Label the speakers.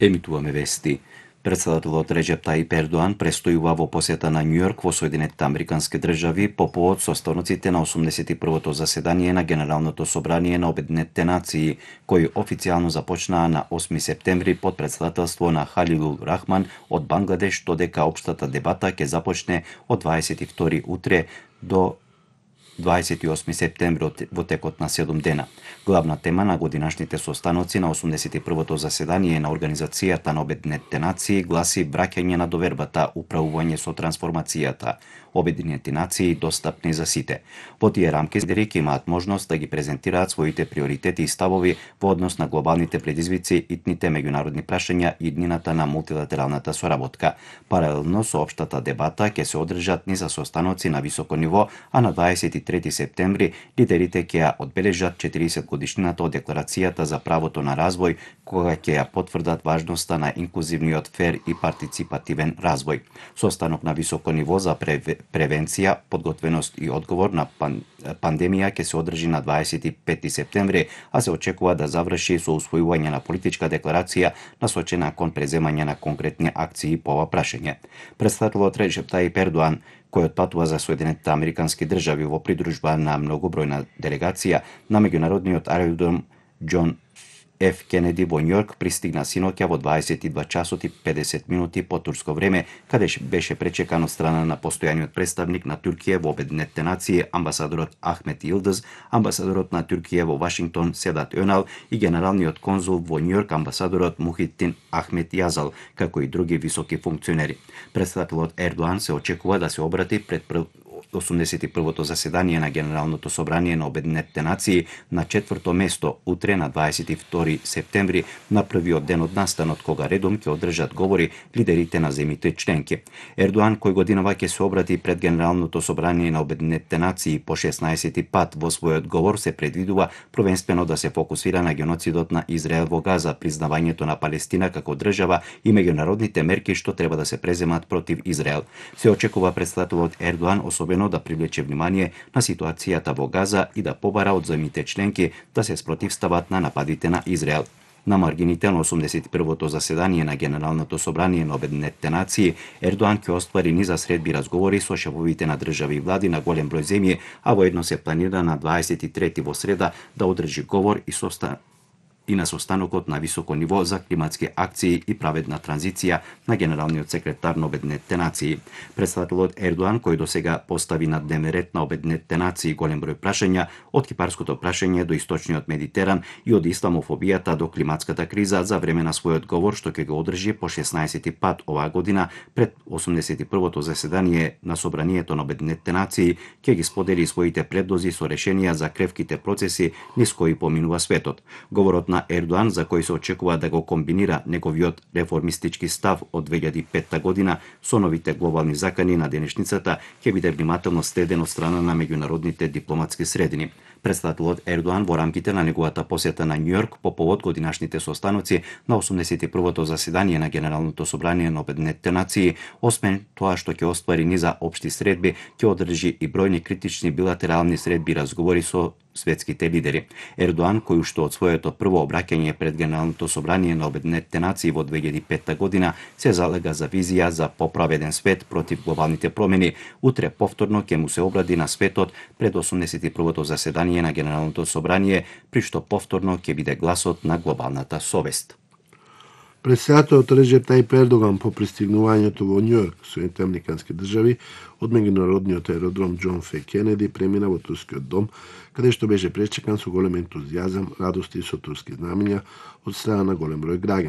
Speaker 1: Емитуваме вести. Председателот Реџеп Тајип Ердоан престојува во посета на Њујорк во Соединетите Американски држави по повод состаноците на 81-то заседание на Генералното собрание на Обединетите нации, кои официјално започнаа на 8 септември под председателство на Халилул Рахман од Бангладеш, додека општата дебата ќе започне од 22 утре до 28 септември во текот на 7 дена. Главна тема на годинашните состаноци на 81-то заседание на Организацијата на Обединетите нации гласи враќање на довербата, управување со трансформацијата, Обединети нации достапни за сите. Во тие рамки лидерите имаат можност да ги презентираат своите приоритети и ставови во однос на глобалните предизвици, итните меѓународни прашања и иднината на мултилатералната соработка. Паралелно со општата дебата ќе се одржат низа состаноци на високо ниво, а на 23 септември лидерите ќе ја одбележат 40 годишнината од Декларацијата за правото на развој, кога ќе ја потврдат важноста на инклузивниот, фер и партиципативен развој. Состанок на високо ниво за превенција, подготвеност и одговор на пандемија ќе се одржи на 25 септември, а се очекува да заврши со усвојување на политичка декларација насочена кон преземање на конкретни акции по ова прашање. Председателот Реџеп Тајип Ердоан, кој отпатува за Соединетите Американски држави во придружба на многобројна делегација на меѓународниот аеродром Џон Ф. Кенеди во Њујорк, пристигна синоќа во 22 часот и 50 минути по турско време, каде беше пречекан од страна на постојаниот представник на Туркија во Обединетите нации, амбасадорот Ахмет Йилдыз, амбасадорот на Туркија во Вашингтон Седат Önal и генералниот конзул во Њујорк амбасадорот Мухиттин Ахмет Јазал, како и други високи функционери. Председателот Ердоан се очекува да се обрати пред 81-то заседание на Генералното собрание на Обединетите нации на 4-то место утре на 22 септември, на првиот ден од настанот, кога редом ќе одржат говори лидерите на земјите членки. Ердоан, кој годинава ќе се обрати пред Генералното собрание на Обединетите нации по 16-ти пат, во својот говор се предвидува првенствено да се фокусира на геноцидот на Израел во Газа, признавањето на Палестина како држава и меѓународните мерки што треба да се преземат против Израел. Се очекува председателот Ердоан особено да привлече внимание на ситуацијата во Газа и да побара од земјите членки да се спротивстават на нападите на Израел. На маргините на 81-то заседание на Генералното собрание на Обединетите нации, Ердоан ќе оствари низа средби разговори со шефовите на држави и влади на голем број земји, а воедно се планира на 23 во среда да одржи говор и на состанокот на високо ниво за климатски акции и праведна транзиција на генералниот секретар на Обединетите нации. Председателот Ердоан, кој досега постави на дневен ред на Обединетите нации голем број прашања, од кипарското прашање до источниот Медитеран и од исламофобијата до климатската криза, за време на својот говор што ќе го одржи по 16-ти пат оваа година пред 81-то заседание на Собранието на Обединетите нации, ќе ги сподели своите предлози со решенија за кревките процеси низ кои поминува светот. Говорот на Ердоан, за кој се очекува да го комбинира неговиот реформистички став од 2005 година со новите глобални закани на денешницата, ќе биде внимателно следен од страна на меѓународните дипломатски средини. Председателот Ердоан во рамките на неговата посета на Њујорк по повод годинашните состаноци на 81-то заседание на Генералното собрание на Обединетите нации, освен тоа што ќе оствари низа општи средби, ќе одржи и бројни критични билатерални средби и разговори со светските лидери. Ердоан, кој уште од своето прво обраќање пред Генералното собрание на Обединетите нации во 2005 година се залега за визија за поправеден свет против глобалните промени, утре повторно ќе му се обради на светот пред 81-то заседание на Генералното собрание, при што повторно ќе биде гласот на глобалната совест.
Speaker 2: Председателот Реџеп Тајип Ердоган по пристигнувањето во Њујорк, Соединетите Американски држави, од меѓународниот аеродром Џон Ф. Кенеди премина во турскиот дом, каде што беше пречекан со голем ентузијазам, радости и со турски знамења од страна на голем број граѓани.